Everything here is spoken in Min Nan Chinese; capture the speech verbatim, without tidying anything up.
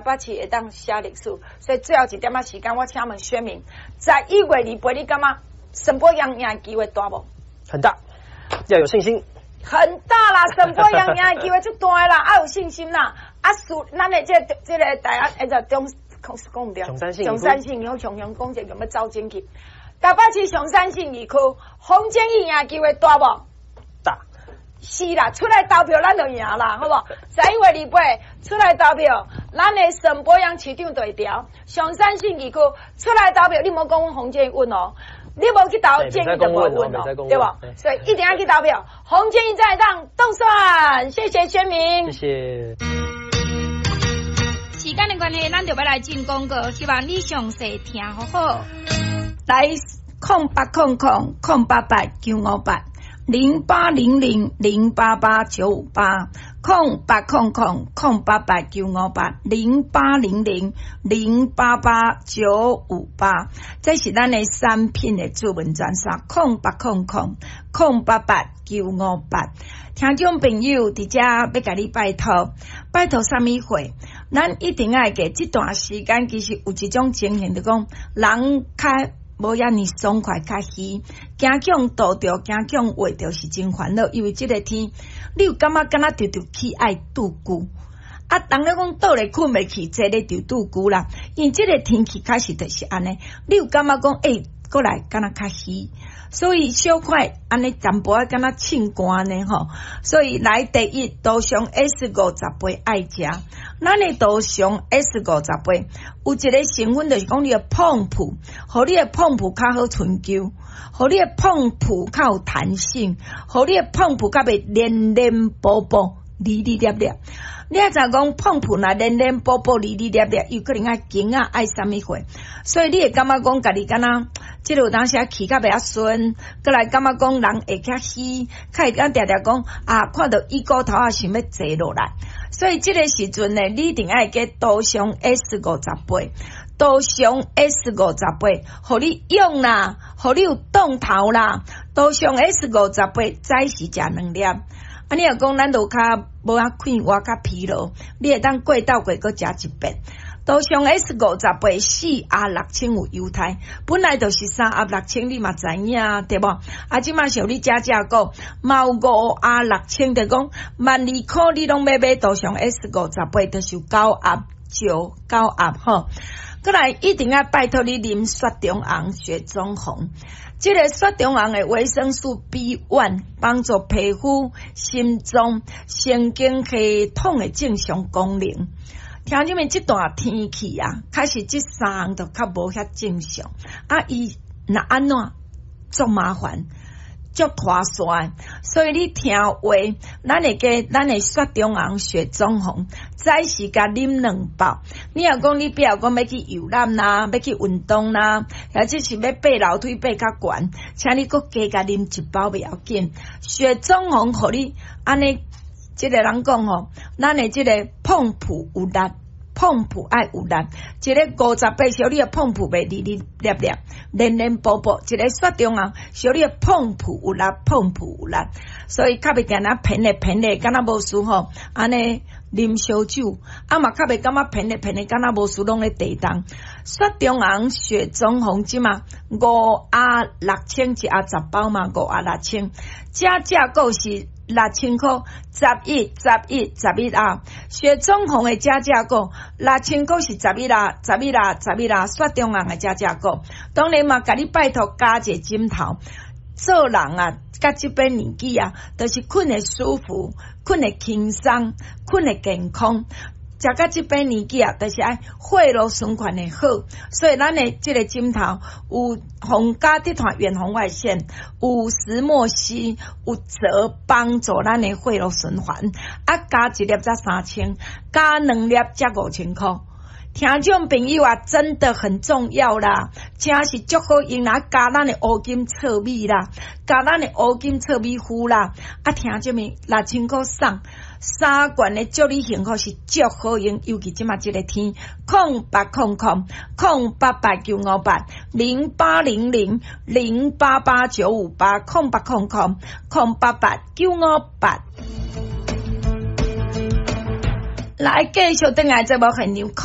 北市會當寫歷史，所以最後一點仔時間，我請問選民，十一月二八，你感覺沈伯洋贏的機會大無？很大，要有信心。很大啦，沈伯洋贏的機會足大啦，愛有信心啦。啊，屬咱的這個這個大家，欸，就中講講毋對，松山信松山信義雄雄講者用欲走進去。台北市松山信義區，洪建義贏機會大無？大。是啦，出來投票咱就贏啦，好無？十一月二八出來投票，咱的沈伯洋市長就會調。松山信義區出來投票，你莫講洪建義穩哦，你無去投建議就無穩哦，對無？所以一定要去投票，洪建義再當當選，謝謝選民，謝謝。時間的關係，咱就欲來進廣告，希望你詳細聽好好。來，空八空空空八八九五八零八零零零八八九五八空八空空空八八九五八零八零零零八八九五八，這是咱的產品的諮詢專線，空八空空空八八九五八。聽眾朋友佇遮欲共你拜託，拜託啥物貨？咱一定愛記這段時間，其實有一種情形，就講人較無遐爾爽快，較虛，驚予人逗著，驚予人畫著是真煩惱，因為這个天，你有感覺敢若著著起愛拄龜？啊，人咧講倒咧睏袂去，坐咧就拄龜啦。因為這个天氣確實就是按呢，你有感覺講，欸，過來敢若較虛，所以小可按呢淡薄仔敢若凊汗呢吼。所以來第一，杜尚 S 五十八愛食，咱的杜尚 S 五十八有一个成分，就是講你的膨皮，予你的膨皮較好春秋，予你的膨皮較有彈性，予你的膨皮較袂黏黏薄薄、膩膩粒粒。你也知講膨皮若黏黏薄薄、膩膩粒粒，有可能愛筋仔愛啥物貨，所以你會感覺講家己敢若，這个有當時啊氣較袂遐順，閣來感覺講人會較虛，較會當定定講啊，看著椅骨頭仔想欲坐落來，所以這个時陣呢，你一定愛加杜尚 S 五十八，杜尚 S 五十八，予你用啦，予你有動頭啦，杜尚 S 五十八早時食兩粒。啊！你若講咱路跤無遐快活較疲勞，你會當過晝過閣食一遍。杜尚 S 五十八四盒六千有優待，本來就是三盒六千，你嘛知影對無？啊，這馬像你遮遮講，嘛有五盒六千，就講萬二箍你攏欲買杜尚 S 五十八，就是有九盒少九盒吼。閣來一定愛拜託你啉雪中紅、雪中紅。這个雪中紅的維生素 B one 幫助皮膚、心臟、神經系統的正常功能。聽你們這段天氣啊，確實這三項都較無遐正常。啊，伊若按怎足麻煩，足拖沙，所以你聽話，咱會加咱的雪中紅、雪中紅，早時共啉兩包。你若講你比如講欲去遊覽啦，欲去運動啦，或者是欲爬樓梯爬較懸，請你閣加共啉一包袂要緊。雪中紅予你按呢，這个人講吼，咱的這个膨皮有力。膨皮愛有力，一个五十八小你的膨皮袂膩膩粒粒，黏黏薄薄；一个雪中紅，小你的膨皮有力，膨皮有力，所以較袂定定偏咧偏咧，敢若無事吼，按呢啉燒酒，啊嘛較袂感覺偏咧偏咧，敢若無事攏咧地動。雪中紅、雪中紅這馬五盒六千一盒十包嘛，五盒六千，這價購是六千箍，十一、十一、十一盒。雪中紅的這價購六千箍是十一盒，十一盒，十一盒。雪中紅的這價購，當然嘛，共你拜託加一個枕頭。做人啊，到這把年紀啊，就是睏會舒服，睏會輕鬆，睏會健康。食到這把年紀啊，就是愛血路循環會好，所以咱的這个枕頭有皇家集團遠紅外線，有石墨烯，有則幫助咱的血路循環。啊，加一粒才三千，加兩粒才五千箍。聽眾朋友啊，真的很重要啦，真是足好用啦，加咱的烏金糙米啦，加咱的烏金糙米糊啦，啊，聽這物六千箍送。三罐的祝你幸福是足好用，尤其這馬這个天，空八空空空八八九五八零八零零零八八九五八空八空空空八八九五八。來，繼續轉來節目現場。